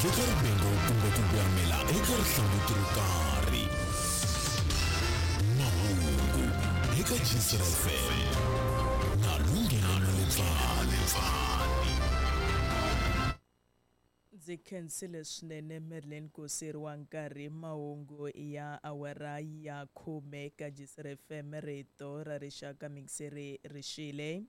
Veka rivengo kumbe ku gwamela eka rihlanguti ro karhi. Mahungu eka Gcina FM na Lunghelo Malebvani. Ndzi khensile swinene Merlin ku siyeriwa nkarhi. Mahungu ya awara ya khume ka Gcina FM, rito ra rixaka mixeri rixile.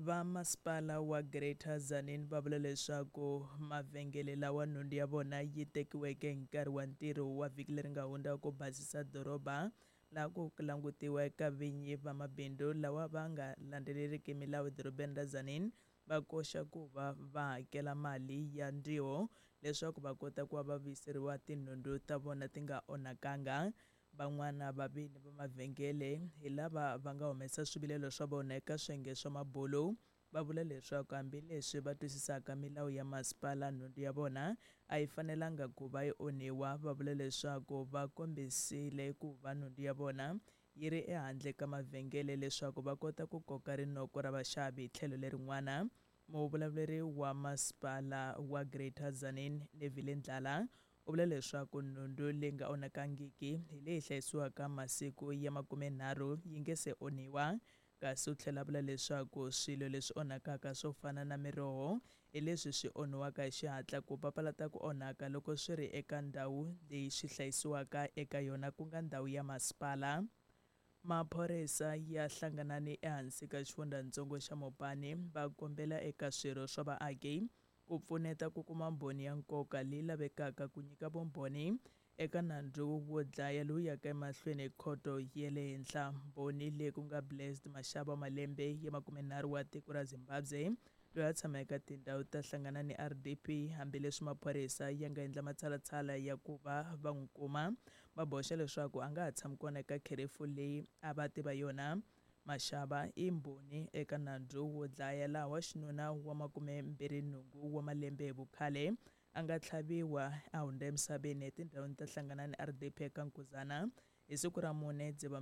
Va masipala wa Greater Tzaneen va vula leswaku mavhengele lawa nhundzu ya vona yi tekiweke hi nkarhi wa ntirho wa vhiki leri nga hundza ku basisa doroba laha ku langutiwa eka vinyi va mabindzu lawa va nga landzeleriki milawu edorobeni ra Tzaneen va koxa ku va va hakela mali ya ndziho leswaku va kota ku va va vuyiseriwa tinhundzu ta vona ti nga onhakanga. Van'wana va vini va mavhengele hi lava va nga humesa swivilelo swa vona eka swiyenge swa mabulu, va vula leswaku hambileswi va twisisaka milawu ya masipala, nhundzu ya vona a yi fanelanga ku va yi onhiwa. Va vula leswaku va kombisile ku va nhundzu ya vona yi ri ehandle ka mavhengele leswaku va kota ku koka rinoko ra vaxavi. Hi tlhelo lerin'wana, muvulavuleri wa masipala wa Greater Tzaneen, Neville Ndlala, u vula leswaku nhundzu leyi nga onhakangiki hi leyi hlayisiwaka masiku ya 30 yi nge se onhiwa, kasi u tlhela a vula leswaku swilo leswi onhakaka swo fana na miroho hi leswi swi onhiwaka hi xihatla ku papalata ku onhaka loko swi ri eka ndhawu leyi swi hlayisiwaka eka yona, ku nga ndhawu ya masipala. Maphorisa ya hlanganani ehansi ka xifundzhantsongo xa Mopani va kombela eka swirho swa vaaki ku pfuneta ku kuma mbhoni ya nkoka leyi lavekaka ku nyika vumbhoni eka nandzu wo dlaya lowu yaka emahlweni ekhoto ya le henhla. Mbhoni leyi ku nga Blessed Mashaba, malembe ya 30, wa tiko ra Zimbabwe, loyi a tshama eka tindhawu ta hlangana ni RDP, hambileswi maphorisa ya nga endla matshalatshala ya ku va va n'wi kuma, va boxa leswaku a nga ha tshami kona eka kherefu leyi a va tiva yona. Mashaba i mbhoni eka nandzu wo dlaya laha wa xinuna wa 28 wa malembe hi vukhale a nga tlhaviwa a hundza emisaveni etindhawini ta hlangana ni RDP eka Nkuzana hi siku ra 4 Dziva.